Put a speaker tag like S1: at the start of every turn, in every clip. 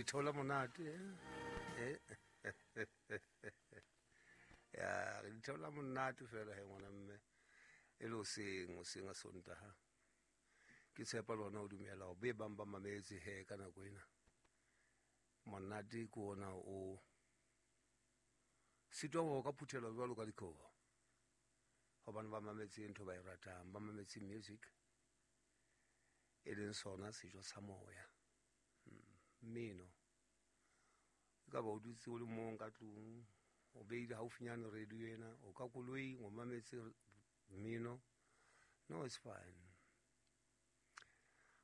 S1: Theola monate. Eh? Ya, re di theola monate fela he ngwana mme. E le hoseng, hoseng a Sontaha. Ke tshepa le hona o dumela hore be bang ba mametse he ka nako ena. Monate ke ona o sitwa ho ka phuthelwa jwalo ka dikobo. Hobane ba mametse ntho ba e ratang, ba mametse music. E leng sona sejo sa moya. Mmino. E ka ba o dutse o le mong ka tlung, o beile haufinyane radio ena, o ka koloing o mametse mmino. No, it's fine.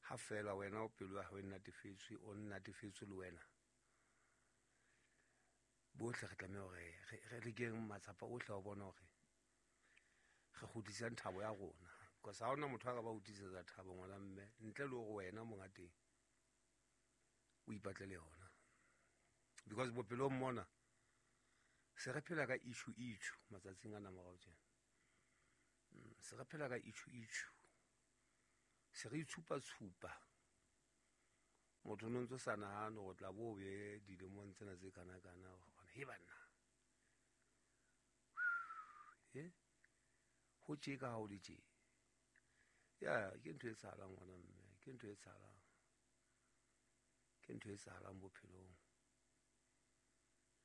S1: Ha fela wena o pelo ya hao e natefetswe, o natefetswe le wena. Bohle re tlameha hore re lekeng matsapa ohle a ho bona hore re kgutlisang thabo ya rona. Because ha hona motho a ka ba o tiisetsa thabo ngwana mme, ntle le hore wena monga teng o ipatlele yona. Because bophelong mona se re phela ka issue issue matsatsing ana morao tjena. Se re phela ka issue issue. Se re itshupa tshupa. Motho no ntso sa nahane hore tla bo be dilemong tsena tse kana kana hore he banna. Eh? Ho tje ka ha o le tje. Ya, ke ntho e etsahalang ngwana mme, ke ntho e etsahalang. Ke ntho e etsahalang bophelong.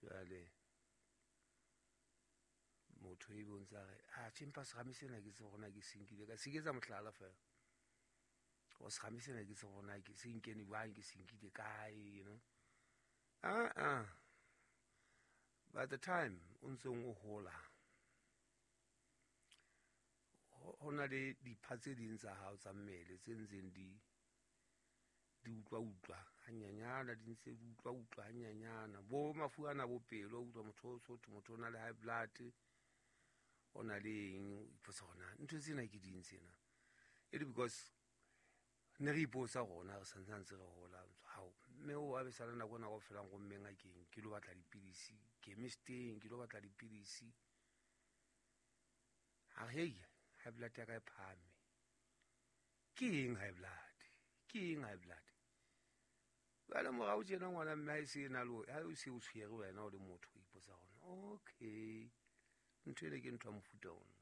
S1: Jwale motho e be o ntse a re, ah, tjhe, empa serame sena ke tsebe hore na ke se nkile ka se ke etsa mohlala fela. O serame sena ke tsebe hore na ke se nkene jwang, ke se nkile kae, you know. Ah, ah. By the time o ntseng o hola, ho na le dipha tse ding tsa hao tsa mmele tse ntseng di utlwa utlwa hanyanyana, di ntse di utlwa utlwa hanyanyana. Bo mafu ana bo pelo, o utlwa motho o sotho, motho o na le high blood, o na le eng, o ipotsa hore na ntho tsena ke ding tsena. E le because ne re ipotsa rona re santsane ntse re hola, hao, mme o a be sala nako ena kaofela nromme ngakeng, ke lo batla dipidisi, chemisteng, ke lo batla dipidisi. A re, hei, high blood ya ka e phahame. Ke eng high blood? Ke eng high blood? Jwale morao tjena ngwana mme ha e se e na le, ha o se o tshwere wena o le motho, o ipotsa hore, okay, ntho ena ke ntho ya mofuta ono.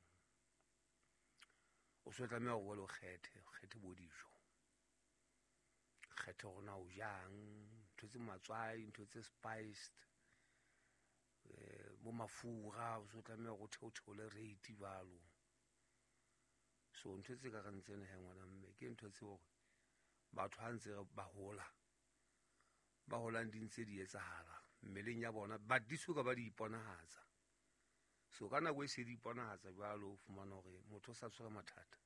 S1: O so tlameha hore o kgethe, o kgethe bo dijo. Kgethe hore na o jang, ntho tse matswai, ntho tse spiced, bo mafura, o so tlameha hore o theotheole rate jwalo. So ntho tse ka reng tsena he ngwana mme, ke ntho tse hore batho ha ntse ba hola, ba holang di ntse di etsahala mmeleng ya bona, but di soka ba di iponahatsa. So ka nako e se di iponahatsa jwalo, o fumana hore motho o sa tshwere mathata.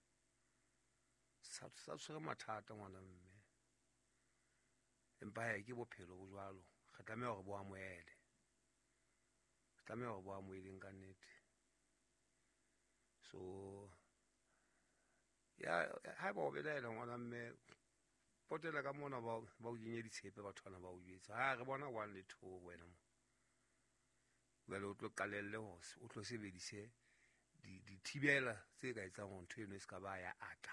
S1: Sa tshwere mathata ngwana mme. Empa he ke bophelo bo jwalo, re tlameha hore bo amohele. Re tlameha hore bo amoheleng ka nnete. So ya haeba o belaela ngwana mme, potela ka mona ba o kenye ditshepe batho bana ba o jwetse. Ha re bona 1 le 2 wena mo. Jwale o tlo qalelle hore o tlo sebedise dithibela tse ka etsang hore ntho eno e se ka ba ya ata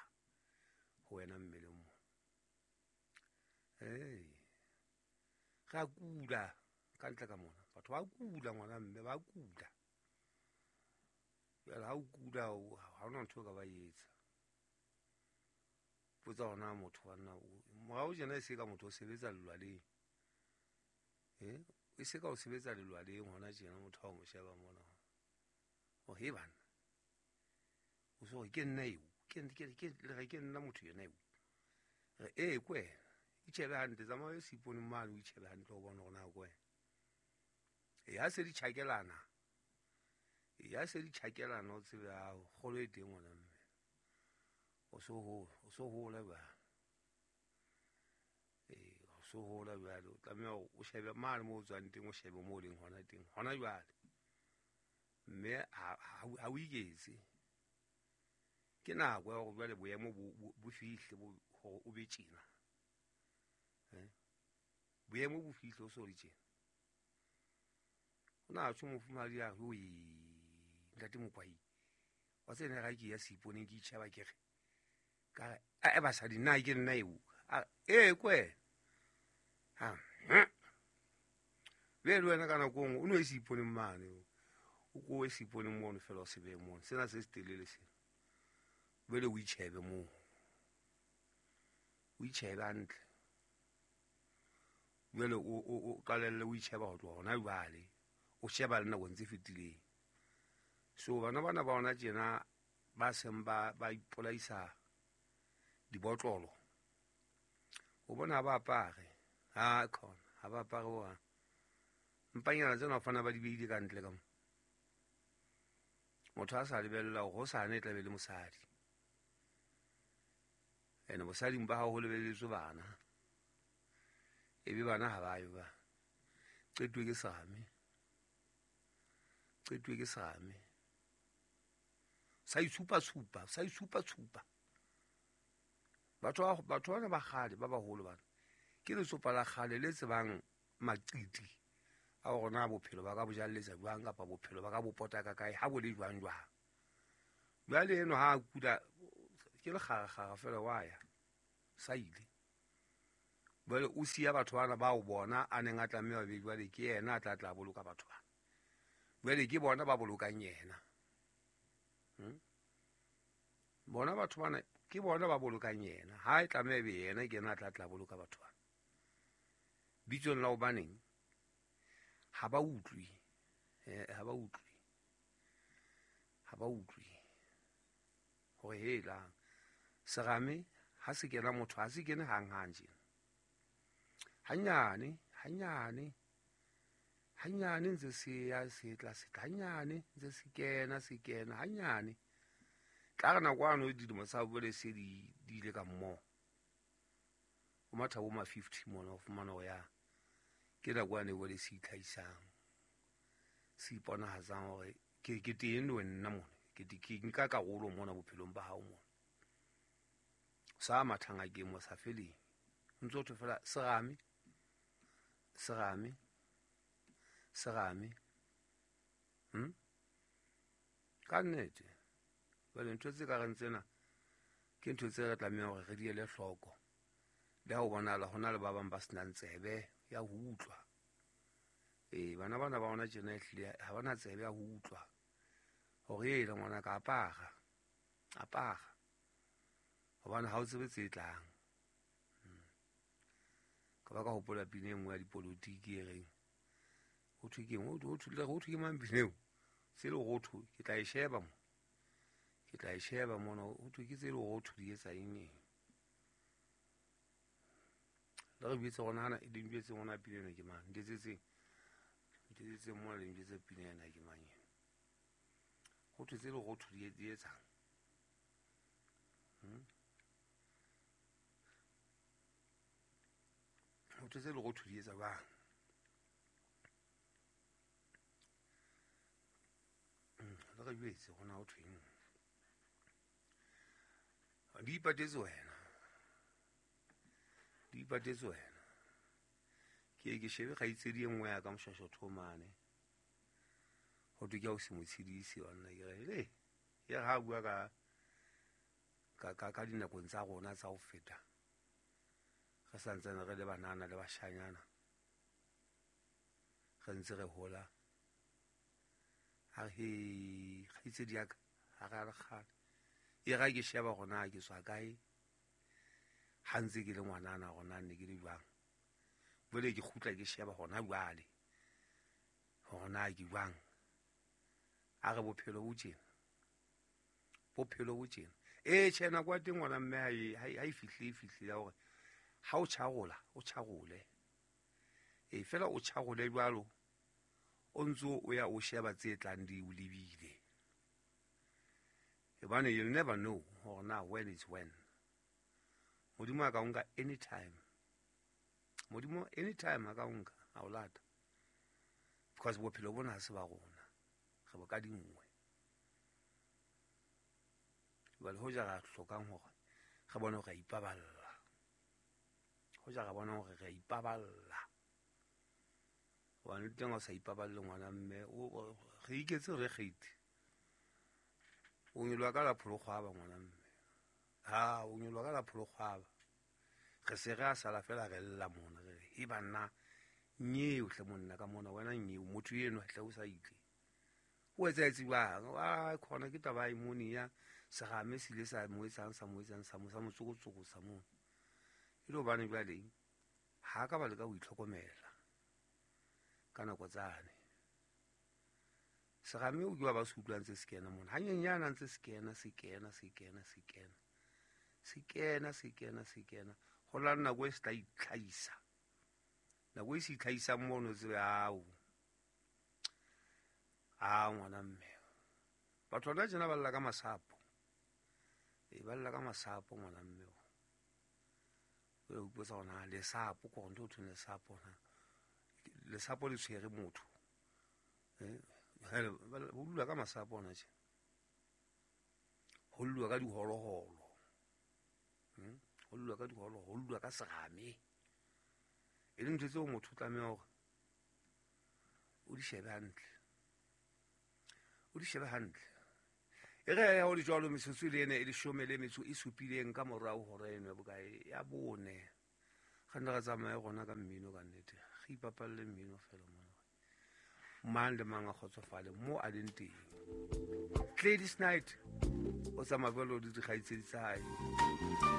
S1: ho wena mmeleng mo. Hey. Re a kula ka ntle ka mona. Batho ba kula ngwana mme, ba kula. Jwale ha o kula, ha hona ntho o ka ba etsa. Potsa hona motho wa nna, morao tjena e se ka motho o sebetsa lelwaleng. E se ka o sebetsa lelwaleng hona tjena motho ha o mo sheba mona. O he bana. O so re ke nna eo, le re ke nna motho yena eo. Re e ke wena. Itjhebe hantle, tsamaya o seipone mane o itjhebe hantle o bone hore na ke wena. E ha se di tjhakelana. E ha se di tjhakelana o tsebe ha kgolo e teng ngwana mme. O so hola, o so hola jwale. O so hola jwale, o tlameha hore o shebe mane moo o tswang teng, o shebe moo o leng hona teng, hona jwale. Mme ha o iketse. Ke nako ya hore jwale boemo bo fihle hore o be tjena. Boemo bo fihle o so le tjena. O na tjho mofumahadi a re, oi, ntate Mokwai, wa tsena ga ke ya seiponeng ke itjheba ke re, ka re, a, basadi, nna ke nna eo. A, ee, ke wena. Ha, Be le wena ka nako nngwe o no e se iponeng mane, o ko e se iponeng mono fela o se beye mono, sena se se telele sena. Bele o itjhebe moo, o itjhebe hantle. Jwale o qalelle o itjheba ho tloha hona jwale, o sheba le nakong tse fetileng. So bana bana ba hona tjena ba seng ba ipolaisa dibotlolo, o bona ha ba apare, ha khona ha ba apare wa mpanyana tsena o fana ba di beile ka ntle ka mo. Motho a sa lebella hore hosane e tla be le mosadi, ene bosading ba hao ho lebelletswe bana, ebe bana ha ba yo ba qetuwe ke serame, qetuwe ke serame. Sa itshupa-tshupa, sa itshupa-tshupa. Batho bana ba kgale, ba baholo bana, ke letsopa la kgale le tsebang maqiti a hore na bophelo ba ka bo jalletsa jwang kapa bophelo ba ka bo pota ka kae, ha bo le jwang jwang. Jwale eno ha a kula ke lekgarakgara fela wa ya, sa ile. Jwale o siya batho bana bao bona a neng a tlameha be jwale ke yena a tla tla boloka batho bana. Jwale ke bona ba bolokang yena. Bona batho bana ke bona ba bolokang yena. Ha e tlameha be yena ke yena a tla tla boloka batho bana. Bitsong la hobaneng ha ba utlwe, ha ba utlwe, ha ba utlwe hore helang serame ha se kena motho, ha se kene hang-hang tjena. Hanyane, hanyane, hanyane ntse se ya se tla se tla, hanyane ntse se kena, se kena, hanyane. Tla re nako ano dilemo tsa bole se di ile ka mmoho. O matha bo ma 50 mona o fumana ho ya ke nako ane bole se itlhahisang, se iponahatsang hore ke teng le nna mona, ke nka karolo mona bophelong ba hao mona. Sa mathang a ke mo sa feleng. Ntse o thwe fela serame, serame, serame. Ka nnete. Jwale ntho tse ka reng tsena ke ntho tse re tlamehang hore re di ele hloko. Le ha o bonahala ho na le ba bang ba senang tsebe ya ho utlwa. Bana bana ba hona tjena ehlile ha bana tsebe ya ho utlwa hore ela ngwana ka apara, apara, hobane ha o tsebe tse tlang. Ka ba ka hopola pina e nngwe ya dipolotiki e reng ho thwe ke eng, ho thwe ke mang pina eo? Tse lerotho, ke tla e sheba mo, ke tla e sheba mona, ho thwe ke tse lerotho di etsa eng eng. Le re jwetse hore nahana le njwetse hore na pina ena ke mang, ntetsetseng, ntetsetseng mona le njwetse pina ena ke mang ena. Ho thwe tse lerotho di etsang. Ho thwe tse lerotho di etsa jwang? Le re jwetse hore na ho thweng. Di ipatetse wena, di ipatetse wena. Ke ke shebe kgaitsedi e nngwe ya ka Moshwashwatho mane, ho thwe ke ya o se mo tshedise banna. Ke re le ye ha bua ka dinakong tsa rona tsa ho feta, re santsane re le banana le bashanyana, re ntse re hola. A re he kgaitsedi ya ka, ha re a le kgale. E ra ke sheba hore na ke tswa kae, ha ntse ke le ngwanana hore na ne ke le jwang. Jwale ke kgutla ke sheba hona jwale hore na ke jwang. A re bophelo bo tjena, bophelo bo tjena. Tjhe, nako ya teng ngwana mme ha e fihle, e fihle ya hore ha o tjharola, o tjharole. Fela o tjharole jwalo, o ntso o ya o sheba tse tlang di o lebile. Hobane you'll never know hore na when is when. Modimo a ka o nka anytime. Modimo anytime a ka o nka, a o lata. Because bophelo bona ha se ba rona, re bo ka dingwe. Jwale hoja ra hlokang hore re bone hore re a ipaballa, hoja ra bona hore re a ipaballa. Hobane le teng ha o sa ipaballe ngwana mme, re iketse re kgethe. O nyoloha ka la pholokgwaba ngwana mme. Ha, o nyoloha ka la pholokgwaba. Re se re a sala fela re lla mona, re re, e banna, Nyeo hle monna ka mona wena nyeo motho eno hle o sa itle o etsahetse jwang? A khona ke taba e mone ya serame se ile sa mo etsang sa mo etsang sa mo sa mo tsokotsokosa mono. E le hobane jwale ha ka ba leka ho itlhokomela ka nako tsane. Serame o ke wa ba se utlwang tse se kena mona. Hanyenyane ntse se kena se kena se kena se kena se kena se kena se kena. Ho la nako e se tla itlhahisa. Nako e se itlhahisang mono tsebe ao. A ngwana mme. Batho hona tjena ba lla ka masapo. E ba lla ka masapo ngwana mme. O ipotsa hore na lesapo ke hore ntho e thweng lesapo na. Lesapo le tshwere motho. Ho lula ka masapo hona tje. Ho lula ka diholoholo. Ho lula ka diholoholo, ho lula ka serame. E le ntho tseo motho o tlameha hore o di shebe hantle. O di shebe hantle. E re ho le jwalo metsotso le ene e leshome le metso e supileng ka morao hora eno ya bokae ya bone. Re nne re tsamaye rona ka mmino ka nnete. Re ipapalle mmino fela mona. Mang le mang a kgotsofale mo a leng teng. Gladys Knight o tsamaya jwalo le dikgaitsedi tsa hae.